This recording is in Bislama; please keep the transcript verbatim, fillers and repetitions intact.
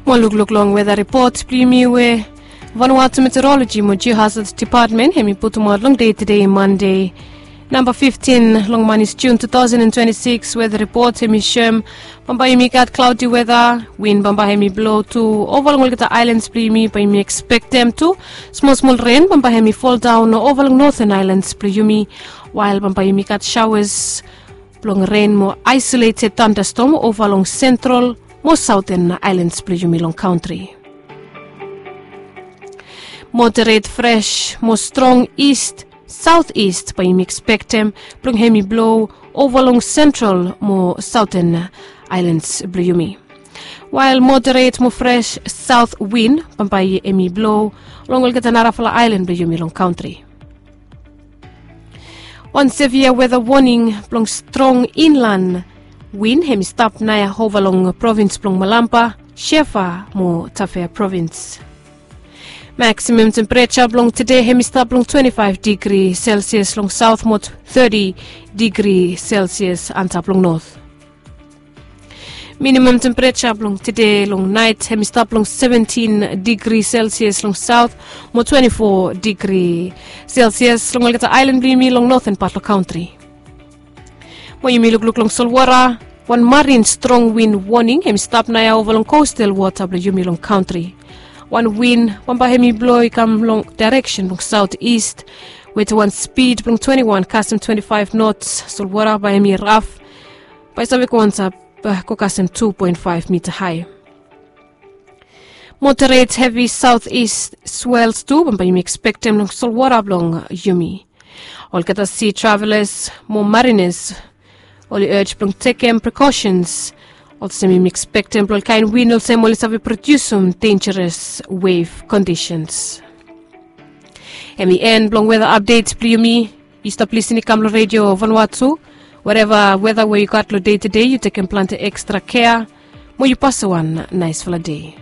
Mo lukluk long weda ripot blong yumi we Vanuatu Meteorology mo Geohazard Department hemi putumaot long dei tedei Mande, namba fiftin long manis Jun tu taosen and twenti sikis. Weda ripot hemi soem bambae yumi gat klaodi weda, win bambae hemi blo tu ova long olgeta aelans blong yumi. Bae yumi ekspektem tu smol smol ren bambae hemi foldaon ova long noten aelans blong yumi, wael bambae yumi gat saoas blong ren mo aesoleted tandastom ova long sentral mo saoten aelans blong yumi long kantri. Moderet fres mo strong ist saotis bae yumi ekspektem blong hemi blo ova long sentral mo saoten aelans blong yumi, wael moderet mo fres saot win bambae hemi blo long olgeta narafala aelan blong yumi long kantri. Wan sevia weda woning blong strong inlan win hemi stap naoia ova long provins blong Malampa, Shefa mo Tafea provins. Maksimam tempereja blong tede hemi stap long twenti faef digri selsias long saot mo teti digri selsias antap long not. Minimam tempereja blong tede long naet hemi stap long seventin digri selsias long saot mo twenti fo digri selsias long olgeta aelan blong yumi long noten pat long kantri. Mo yumi lukluk long solwota, wan marin strong win woning hemi stap naoia ova long kostal wota blong yumi long kantri. Wan win bambae hemi blo i kam long daereksen blong saotis wetem wan spid blong twenti wan kasem twenti faef nots. Solwota bae hemi raf, bae i save go antap, go kasem tu poen faef mita hae. Moderet hevi saotis swels tu bambae yumi ekspektem long solwota blong yumi. Olgeta si travelas mo marinas oli ej blong tekem prekosens olsem yumi ekspektem blong ol kaen win olsem oli save prodiusum denjaras wef kondisens. Hemi en blong weda apdet blong yumi. Yu stap lisin i kam long redio Vanuatu. Wareva weda we yu gat long dei tedei, yu tekem plante ekstra kea mo yu pasem wan naesfala dei.